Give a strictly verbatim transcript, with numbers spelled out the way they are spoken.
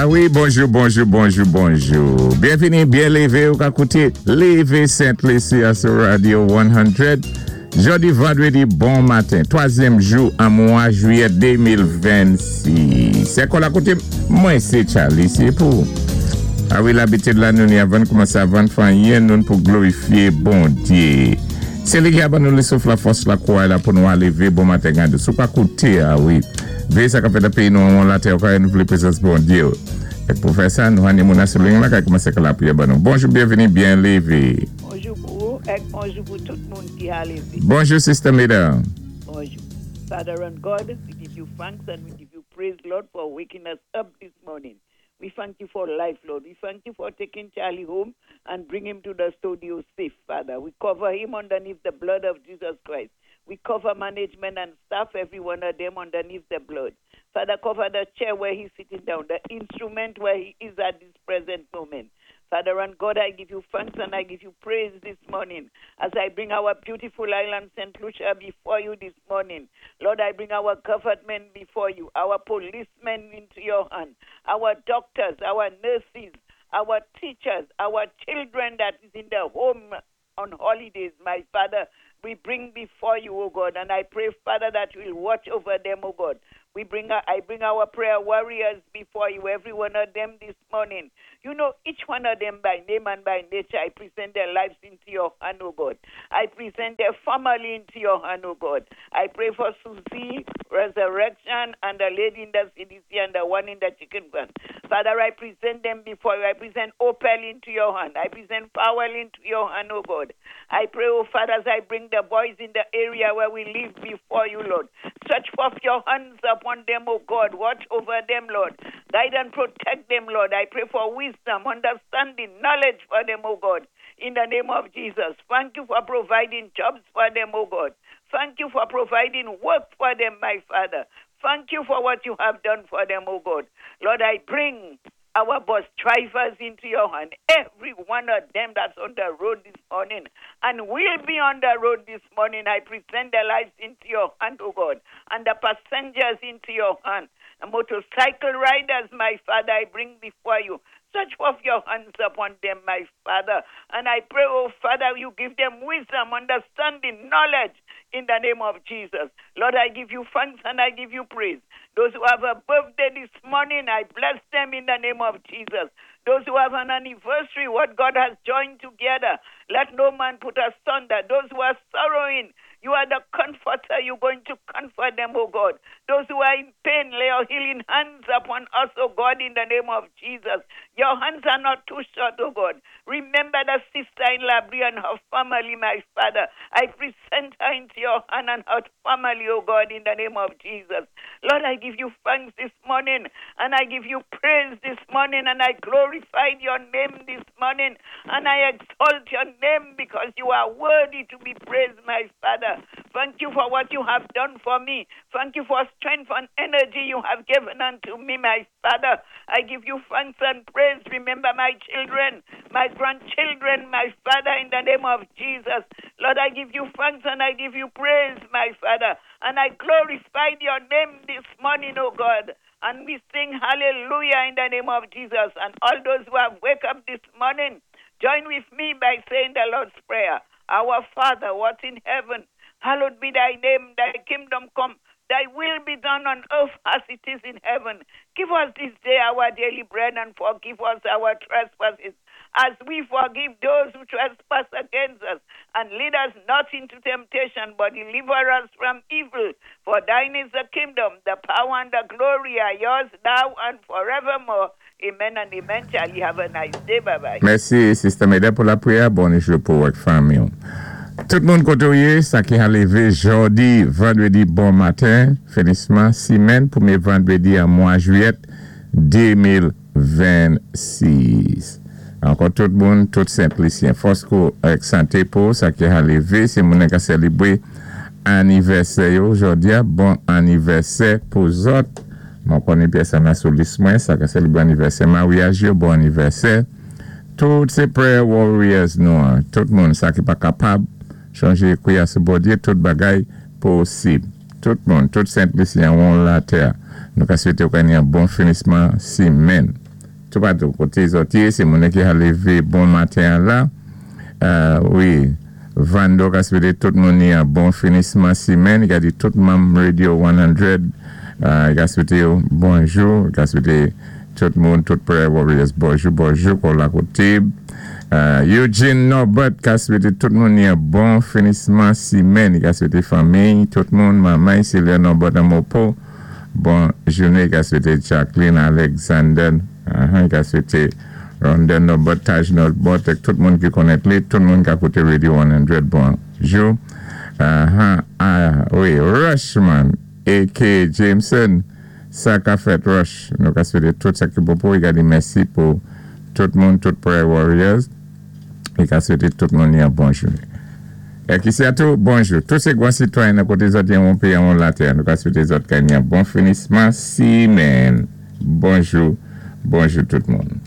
Ah wi, bonjou, bonjou, bonjou, bonjou. Byenvini, byen lévé, ou ka kouté Lévé Sent-Lisi sou Radio san. Jòdi vandwédi, bon maten. Twazyèm jou an mwa jwiyè de mil vennsis. Sé kon la kouté, mwen sé Charlie, sé pou. Ah wi, labitid la nou ni avan koumansé, avan fè anyen, nou pou glorifyé Bondyé. Sé li ki a ban nou le souf, la fòs, la kouway la pou nou lévé bon maten gandé. Sou ka kouté, ah wi. Véyé sa ka fèt nan péyi nou an latè, ou ka wè prezans Bondyé. É pou fè sa, nou ni moun sou liy la ki koumansé lapriyè ban nou. Bonjou, byenvini, byen lévé. Bonjou pou ou é bonjou pou tout moun ki a lévé. Bonjou, Sister Mida. Bonjou. Father and God, we give you thanks and we give you praise, Lord, for waking us up this morning. We thank you for life, Lord. We thank you for taking Charlie home and bring him to the studio safe, Father. We cover him underneath the blood of Jesus Christ. We cover management and staff, every one of them underneath the blood. Father, cover the chair where he's sitting down, the instrument where he is at this present moment. Father and God, I give you thanks and I give you praise this morning as I bring our beautiful island, Saint Lucia, before you this morning. Lord, I bring our government before you, our policemen into your hand, our doctors, our nurses, our teachers, our children that is in the home on holidays, my Father. We bring before you, O God, and I pray, Father, that you will watch over them, O God. We bring our, I bring our prayer warriors before you, every one of them this morning. You know each one of them by name and by nature. I present their lives into your hand, O God. I present their family into your hand, O God. I pray for Susie, Resurrection, and the lady in the C D C and the one in the chicken van. Father, I present them before you. I present Opel into your hand. I present Powell into your hand, O God. I pray, O Father, as I bring the boys in the area where we live before you, Lord. Stretch forth your hands upon them, O God. Watch over them, Lord. Guide and protect them, Lord. I pray for wisdom, understanding, knowledge for them, O God. In the name of Jesus. Thank you for providing jobs for them, O God. Thank you for providing work for them, my Father. Thank you for what you have done for them, O God. Lord, I bring our bus drivers into your hand, every one of them that's on the road this morning and will be on the road this morning. I present their lives into your hand, O God, and the passengers into your hand. The motorcycle riders, my Father, I bring before you. Stretch forth your hands upon them, my Father. And I pray, oh Father, you give them wisdom, understanding, knowledge in the name of Jesus. Lord, I give you thanks and I give you praise. Those who have a birthday this morning, I bless them in the name of Jesus. Those who have an anniversary, what God has joined together, let no man put asunder. Those who are sorrowing, you are the comforter. You're going to comfort them, oh God. Those who are in pain, lay your healing hands upon us, oh God, in the name of Jesus. Your hands are not too short, oh God. Remember the sister in Labrie and her family, my Father. I present her into your hand and her family, oh God, in the name of Jesus. Lord, I give you thanks this morning and I give you praise this morning and I glorify your name this morning and I exalt your name because you are worthy to be praised, my Father. Thank you for what you have done for me. Thank you for strength and energy you have given unto me, my Father. I give you thanks and praise. Remember my children, my grandchildren, my Father, in the name of Jesus. Lord, I give you thanks and I give you praise, my Father. And I glorify your name this morning, oh God. And we sing hallelujah in the name of Jesus. And all those who have wake up this morning, join with me by saying the Lord's Prayer. Our Father, what in heaven, hallowed be thy name, thy kingdom come, thy will be done on earth as it is in heaven. Give us this day our daily bread and forgive us our trespasses as we forgive those who trespass against us. And lead us not into temptation, but deliver us from evil. For thine is the kingdom, the power, and the glory are yours now and forevermore. Amen and amen. Charlie, have a nice day. Bye bye. Mèsi, Sister Meda, pou lapriyè. Bonjou pou vòt fanmi. Tout moun koté, sa ki a lévé jòdi, vandwédi, bon maten, finisman simenn, pwémyé vandwédi an mwa jwiyèt de mil vennsis. Ankò tout moun, tout Sent-Lisyen, fòs kou ak santé pou sa ki a lévé, sé moun ki sélébwé anivèsè yo jòdi a, bon anivèsè pou zòt. Mwen konnen pèsonn sou lis mwen, sa ki sélébwé anivèsè maryaj yo, bon anivèsè. Tout sé prayer warriors nou, an. Tout moun sa ki pa kapab chanjé kwiyé sou Bondyé, tout bagay posib. Tout moun, tout Sent-Lisyen an latè. Nou ka swété yon bon finisman simenn. Toupatou koté zòt yé, sé moun ki a lévé bon maten la. Euh, wi, Vando ka swété tout moun yon bon finisman simenn, i ka di tout manm Radio san, euh, i ka swété bonjou, i ka swété tout moun, tout Prayer Warriors, bonjou, bonjou, kon la koté. Euh, Eugene Norbert ka swété tout moun yon bon finisman simenn, i ka swété fanmi, tout moun, manman, Sylvia Norbert an Mopo, bon jounen, i ka swété Jacqueline Alexander, uh -huh, i ka swété Ronda Norbert, Taj Norbert, tout moun ki konnèt li, tout moun ki ap kouté Radio san, bonjou. Uh -huh, ah, wi, Rushman, A K A. Jameson, sa ka fèt Rush, nou ka swété tout sa ki bon pou, i ka di mèsi pou tout moun, tout Prayer Warriors, i ka swété tout moun yon bon jounen. É ki sé tou, bonjou. Tout sé gwan sitwayen nan koté zòt yon péyi an latè, nou ka swété zòt ka yon bon finisman simenn. Bonjou, bonjou tout moun.